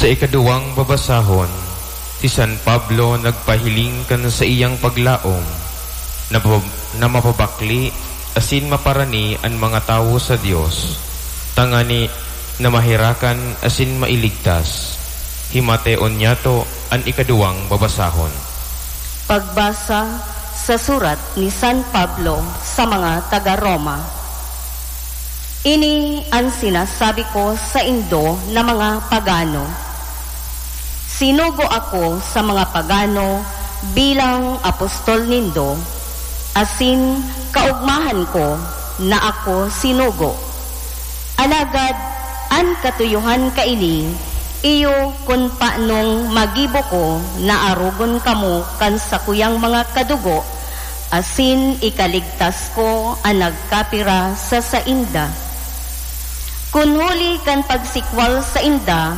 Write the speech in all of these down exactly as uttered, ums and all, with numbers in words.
Sa ikaduwang babasahon, si San Pablo nagpahiling kan saiyang paglaom na, na mapabakle asin maparani an mga tawo sa Dios, tangani na maherakan asin mailigtas. Himateon niyato an ikaduwang babasahon. Pagbasa sa surat ni San Pablo sa mga taga Roma. Ini an sinasabi ko saindo na mga pagano. Sinugo ako sa mga pagano bilang apostol nindo, asin kaogmahan ko na ako sinugo. Alagad an katuyohan kaini, iyo kun paanong magibo ko na arogon kamo kan sakuyang mga kadugo, asin ikaligtas ko an nagkapira sa sainda. Kun huli kan pagsikwal sainda,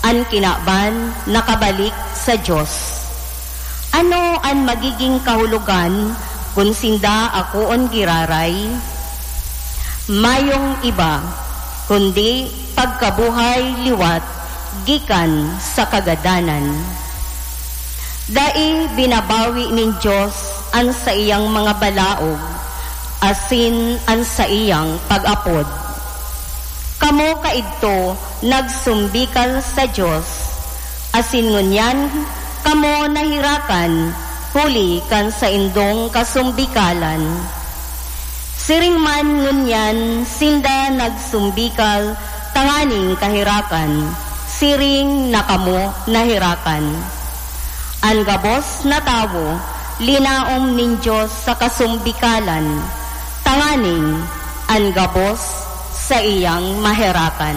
an kinaban nakabalik sa Dios. Ano an magiging kahulogan kun sinda akoon giraray? Mayong iba, kundi pagkabuhay liwat gikan sa kagadanan. Dai binabawi nin Dios an saiyang mga balaog asin an saiyang pag-apod. Kamo kaidto nagsumbikal sa Dios, asin ngunyan kamo naherakan huli kan saindong kasumbikalan. Siring man ngunyan sinda nagsumbikal tanganing kaherakan, siring na kamo naherakan. An gabos na tawo linaom nin Dios sa kasumbikalan, tanganing an gabos saiyang maherakan.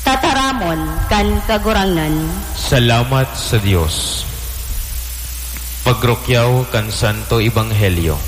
Tataramon kan Kagurangnan. Salamat sa Dios. Pagrukyaw kan Santo Ebanghelyo.